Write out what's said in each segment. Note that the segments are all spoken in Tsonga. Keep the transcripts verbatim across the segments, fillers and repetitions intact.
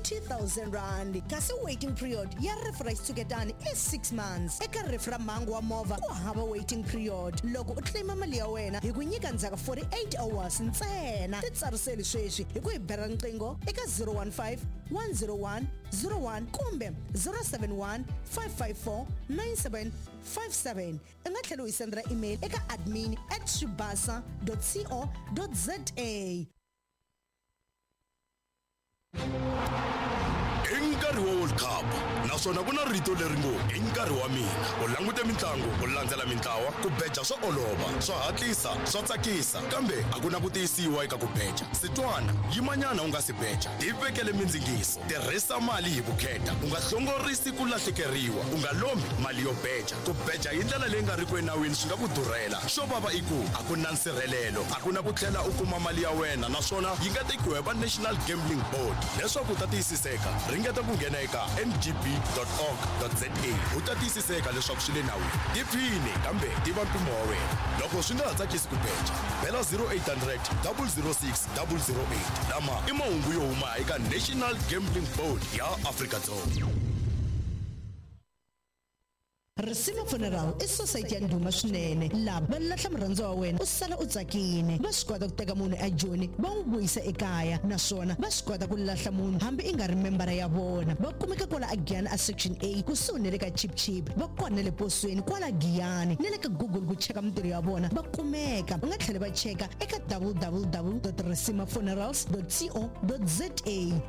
twenty thousand rand. Kasi waiting period ya rifu ra xitshuketani i six months. Eka rifu ra mhangu wa movha ku hava waiting period. Loko u claima mali ya wena hi ku nyika ndzhaku forty-eight hours ntsena. Titsariseli sweswi hi ku hi bela riqingho eka zero one five, one zero one, zero one kumbe zero seven one, five five four, nine seven five seven. U nga tlhela u hi sendela email eka admin at swibasa dot co dot za. I nkarhi wa World Cup naswona ku na rito leri ngo i nkarhi wa mina. U langute mitlangu, u landzela mintlawa, ku beja swa olova, swa hatlisa, swa tsakisa, kambe a ku na ku tiyisiwa eka ku beja. Sitwana, yimanyana u nga si beja, tivekele mindzingiso, tirhisa mali hi vukheta, u nga hlongorisi ku lahlekeriwa, u nga lombi mali yo beja. Ku beja hi ndlela leyi nga riki enawini swi nga ku durhela. Xo vava i ku a ku na nsirhelelo, a ku na ku tlhela u kuma mali ya wena, naswona yi nga tekiwa hi va National Gambling Board. Leswaku u ta tiyisiseka, ringeta ku nghena eka n g b dot org dot z a u ta tiyisiseka leswaku swi le nawini. Tiphine kambe tiva mpimo wa wena. Loko swi nga ha tsakisi ku beja, bela zero eight hundred, double zero six, double zero eight. Lama i mahungu yo huma eka National Gambling Board ya Afrika-Dzonga. Risima Funeral i society ya ndhuma swinene. Lava va lahla murhandziwa wa wena u sala u tsakile. Va swi kota ku teka munhu eJoni va n'wi vuyisa ekaya, naswona va swi kota ku lahla munhu hambi i nga ri membara ya vona. Va kumeka kwala aGiyani a Section A kusuhi na le ka Chip Chip, va kona na le posweni kwala Giyani na le ka Google ku cheka mintirho ya vona va kumeka. U nga tlhela va cheka eka w w w dot risima funerals dot co dot za.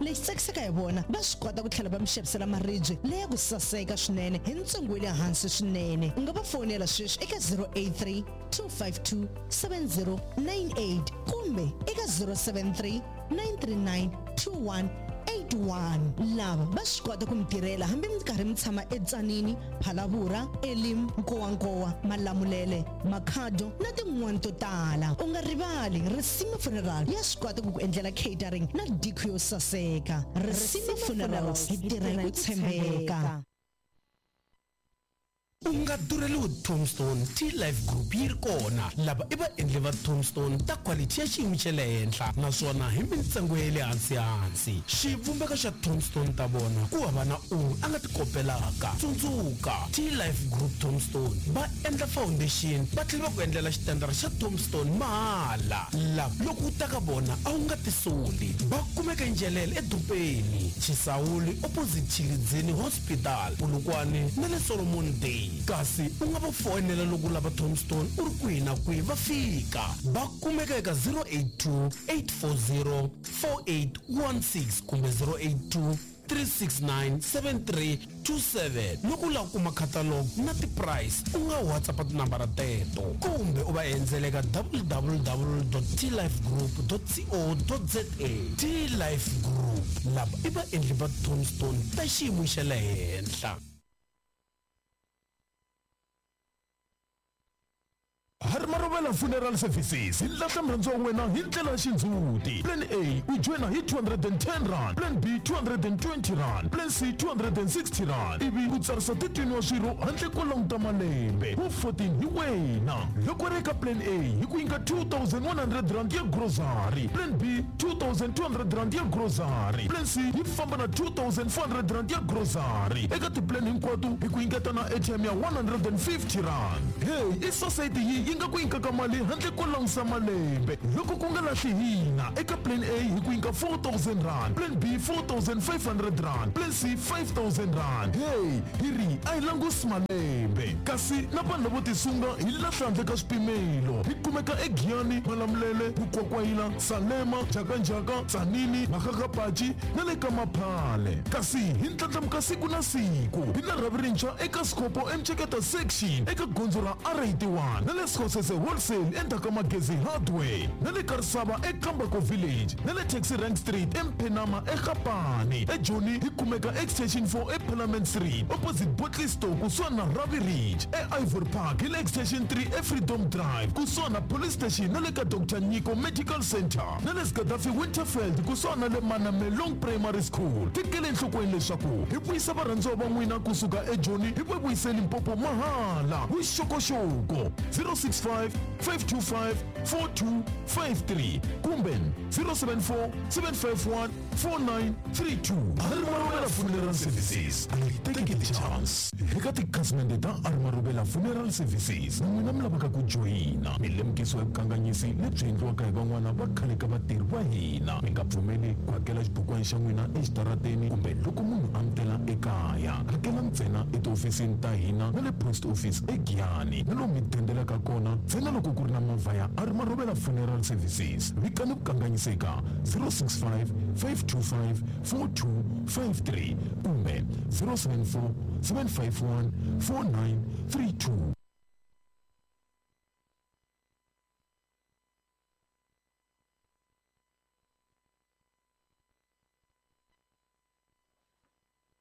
Lexi tsakisaka hi vona, va swi kota ku tlhela va mi xavisela maribye leya ku saseka swinene hi ntsengo wa le hansi swinene. U nga va fonela sweswi eka zero eight three, two five two, seven zero nine eight kumbe eka zero seven three, nine three nine, two one eight one. Lava va swi kota ku mi tirhela hambi mi karhi mi tshama eTsanini, Phalaborwa, Elim, Nkowankowa, Malamulele, Makhado na tin'wani to tala. U nga rivali, Risima Funeral ya swi kota ku ku endlela catering na decor yo saseka. Risima Funerals, hi tirha hi ku tshembeka. U nga durheliwi Tombstone, T-Life Group yi ri kona. Lava i vaendli va Tombstone ta quality ya xiyimo xa le henhla naswona hi mintsengo ya le hansi hansi. Xivumbeko xa Tombstone ta vona ku hava na un'we a nga ti kopelaka. Tsundzuka, T-Life Group Tombstone va endla foundation va tlhela va ku endlela xitandara xa Tombstone mahala. Lava loko u ta ka vona a wu nga tisoli. Va kumeka eNjelele edorobeni, Chisawuli opposite Tshilidzini Hospital, Polokwane na le Solomon Day. Kasi u nga va foyinela loko u lava Tombstone u ri kwihi na kwihi va fika. Va kumeka eka zero eight two, eight four zero, four eight one six kumbe zero eight two, three six nine, seven three two seven. Loko u lava ku kuma catalog na ti-price, u nga WhatsApp tinambara teto kumbe u va endzela eka w w w dot t life group dot co dot za. T-Life Group, lava i vaendli va Tombstone ta xiyimo xa le henhla. Harimarovela Funeral Services hi lahla murhandziwa wa wena hi ndlela ya xindzhuti. Plan A u joyina hi two hundred and ten rand, Plan B two hundred and twenty rand, Plan C two hundred and sixty rand, ivi u tsarisa thirteen wa swirho handle ko languta malembe. Wu fourteen hi wena. Loko u ri eka Plan A hi ku nyika two thousand one hundred rand ya grocery, Plan B two thousand two hundred rand ya grocery, Plan C yi famba na two thousand four hundred rand ya grocery. Eka ti-plan hinkwato hi ku nyiketa na A T M ya one hundred and fifty rand. Hey, i society yi yi nga ku nyikaka mali handle ko langusa malembe. Loko ku nga lahli hina, eka Plan A hi ku nyika four thousand rand, Plan B four thousand five hundred rand, Plan C five thousand rand. Hey, hi ri a hi langusi malembe. Kasi na vanhu lavo tisunga hi lahla handle ka swipimelo. Hi kumeka eGiyani, Malamulele, Mukwakwayila, Salema, Njhakanjhaka, Tzaneen, Makgakgapachi na le ka Maphale. Kasi hi ndlandlamuka siku na siku. Hi na rhavi rintshwa eka Sikopo eMtsheketa section eka gondzo ra R eighty-one na le Sekgosese Wholesale endzhaku ka Magezi Hardware na le Karisava eKambako Village na le Taxi Rank Street eMphenama eGapane. eJoni hi kumeka Extension four eParliament Street opposite Bottle Store kusuhani na Ravi Ridge. E-Ivory Park hi le Extension three eFreedom Drive kusuhani na Police Station na le ka Doctor Nyiko Medical Center na le Gaddafi Winterfeld kusuhani na le Manamelong Primary School. Tekele enhlokweni leswaku hi vuyisa varhandziwa va n'wina kusuka eJoni hi va vuyise Limpopo mahala. Vuxokoxoko zero six five, five two five, four two five three kumbe zero seven four, seven five one, four nine three two. Arimarobela Funeral Services, a yi teki ti-chance. Eka tikhasimende ta Arimarobela Funeral Services, na n'wina mi lavaka ku joyina, mi lemukisiwa hi vukanganyisi lebyi endliwaka hi van'wana va khale ka vatirhi va hina. Mi nga pfumeli ku hakela xibukwana xa n'wina exitarateni kumbe loko munhu a mi tela ekaya. Hakela ntsena etihofisini ta hina na le post office eGiyani, na lomu mi dendelaka kona ntsena loko ku ri na movha ya Arimarobela Funeral Services. Vikani vukanganyisi eka zero six five, five two five, four two five three kumbe zero seven four, seven five one, four nine three two.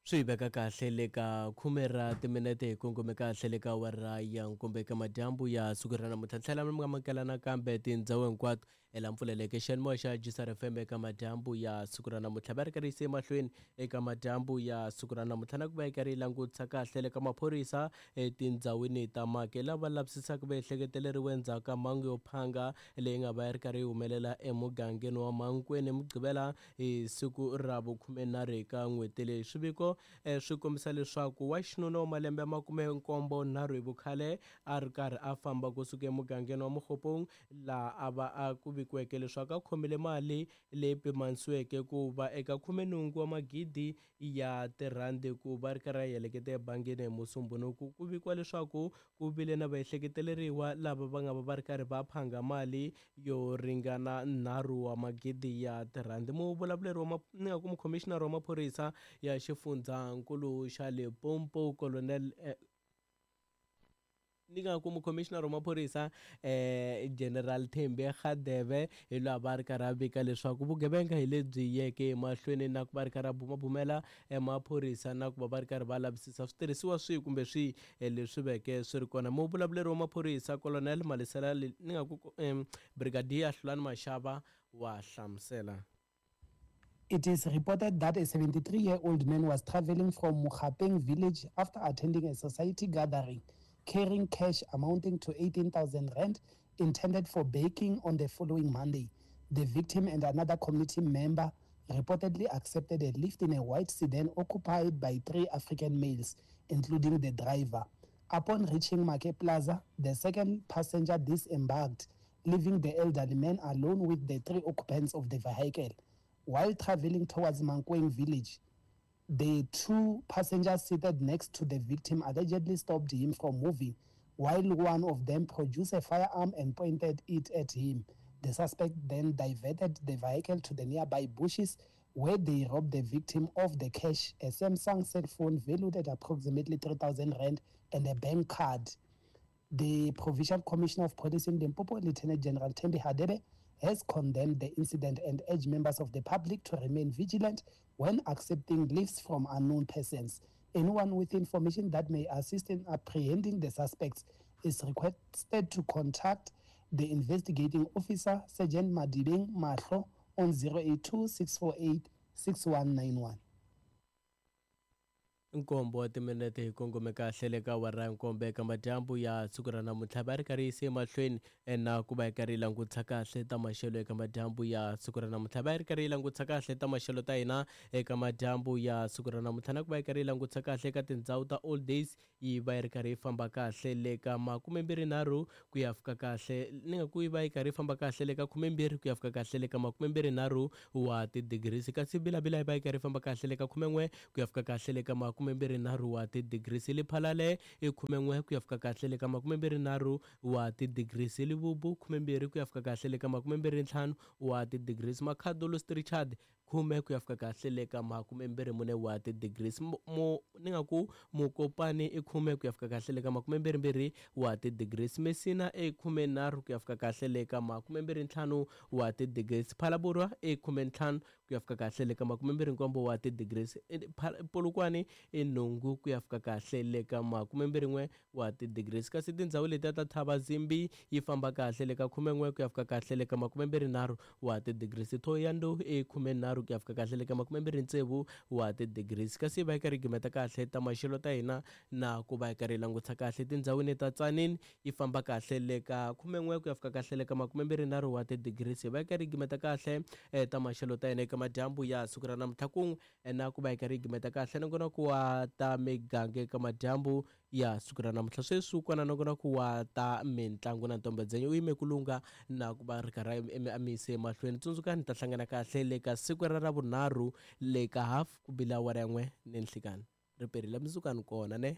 Swi veka kahle le ka khume ra timinete hi kongome kahle le ka awara ya nkombo eka madyambu ya siku ra namuntlha. Tlhela mi nga amukela nakambe tindhawu hinkwato ela mpfuleleke xiyanimoya xa G S R F M eka madyambu ya siku ra namuntlha. Va ri karhi yise emahlweni eka madyambu ya siku ra namuntlha na ku va yi karhi yi langutisa kahle le ka maphorisa etindhawini ta Make lava lavisisaka va ehleketeleriwe endzhaku ka mhangu yo phanga leyi nga va yi ri karhi yi humelela emugangeni wa Mankweng Mugqivela hi siku ra vukhumenharhu eka n'hweti leyi. Swiviko swi kombisa leswaku wa xinuna wa malembe ya makume nkombo nharhu hi vukhale a ri karhi a famba kusuka emugangeni wa Mokgopong laha a va a ku vikiweke leswaku a khomile mali leyi pimanisiweke ku va eka khumenhungu wa magidi ya tirhandi ku va ri karhi a heleketa ebangini hi Musumbhunuku. Ku vikiwa leswaku ku vile na vaehleketeleriwa lava va nga va va ri karhi va phanga mali yo ringana nharhu wa magidi ya tirhandi. Muvulavuleri wa ni nga ku mukhomishinara wa maphorisa ya xifundzankulu xa Limpopo Colonel eh, ni nga ku mukhomishinara wa maphorisa eh General Thembi Khadebe hi laha va ri karhi a vika leswaku vugevenga hi lebyi yeke emahlweni na ku va ri karhi a bumabumela maphorisa na ku va va ri karhi va lavisisa switirhisiwa swihi kumbe swihi leswi veke swi ri kona. Muvulavuleri wa maphorisa Colonel Malisela ni nga ku eh, Brigadier Hlulani Mashava wa hlamusela. It is reported that a seventy-three-year-old man was traveling from Mokgapeng village after attending a society gathering, carrying cash amounting to eighteen thousand rand intended for baking on the following Monday. The victim and another community member reportedly accepted a lift in a white sedan occupied by three African males, including the driver. Upon reaching Make Plaza, the second passenger disembarked, leaving the elderly man alone with the three occupants of the vehicle. While traveling towards Mankweng village, the two passengers seated next to the victim allegedly stopped him from moving, while one of them produced a firearm and pointed it at him. The suspect then diverted the vehicle to the nearby bushes, where they robbed the victim of the cash, a Samsung cell phone valued at approximately three thousand rand, and a bank card. The Provincial Commissioner of Police in Limpopo, Lieutenant General Thembi Hadebe, has condemned the incident and urged members of the public to remain vigilant when accepting lifts from unknown persons. Anyone with information that may assist in apprehending the suspects is requested to contact the investigating officer, Sergeant Madibeng Mahlo, on zero eight two, six four eight, six one nine one. Nkombo wa timinete hi kongome kahle le ka awara ya nkombo eka madyambu ya siku ra namuntlha. Va ri karhi yise emahlweni na ku va yi karhi yi langutisa kahle ta maxelo eka madyambu ya siku ra namuntlha. Va ri karhi yi langutisa kahle ta maxelo ta hina eka madyambu ya siku ra namuntlha na ku va yi karhi yi langutisa kahle eka tindhawu ta Old Days yi va yi ri karhi yi famba kahle le ka makumembirhi ku ya fika kahle ni nga ku yi va yi karhi yi famba kahle le ka khumembirhi ku ya fika kahle le ka makumembirhi wa ti-degrees, kasi Bilabila yi va yi karhi yi famba kahle le ka khumen'we ku ya fika kahle le ka makumembirhi wa ti-degrees, Lephalale i khumen'we ku ya fika kahle le ka makumembirhi wa ti-degrees, Lebobu khumembirhi ku ya fika kahle le ka makumembirhi ntlhanu wa ti-degrees, Makhado St Richard khume ku ya fika kahle le ka makumembirhi mune wa ti-degrees, mo ni nga ku Mokopane i khume ku ya fika kahle le ka makumembirhi wa ti-degrees, Messina i khumenharhu ku ya fika kahle le ka makumembirhi ntlhanu wa ti-degrees, Phalaborwa i khumentlhanu ku ya fika kahle le ka makumembirhi nkombo wa ti-degrees, Polokwane i nhungu ku ya fika kahle le ka makumembirhi n'we wa ti-degrees, kasi tindhawu letiya ta Thabazimbi yi famba kahle le ka khumen'we ku ya fika kahle le ka makumembirhi nharhu wa ti-degrees, Thohoyandou i khumenharhu nharhu ku ya fika kahle le ka makumembirhi tsevu wa ti-degrees. Kasi va yi karhi yi gimeta kahle ta maxelo ta hina na ku va yi karhi yi langutisa kahle tindhawini ta Tzaneen yi famba kahle le ka khumen'we ku ya fika kahle le ka makumembirhi nharhu wa ti-degrees. Va yi karhi yi gimeta kahle ta maxelo ta hina eka madyambu ya siku ra namuntlha kun'we na ku va yi karhi yi gimeta kahle nongonoko wa ta miganga eka madyambu ya siku ra namuntlha. Sweswi kona nongonoko wa ta mitlangu na ntombedzenyo u yime ku lungha na ku va ri karhi a mi yise emahlweni. Tsundzukani ta hlangana kahle le ka siku ra ravunharhu le ka half ku bila awara yin'we ni nhlikani. Ri perile mundzuku kona ne.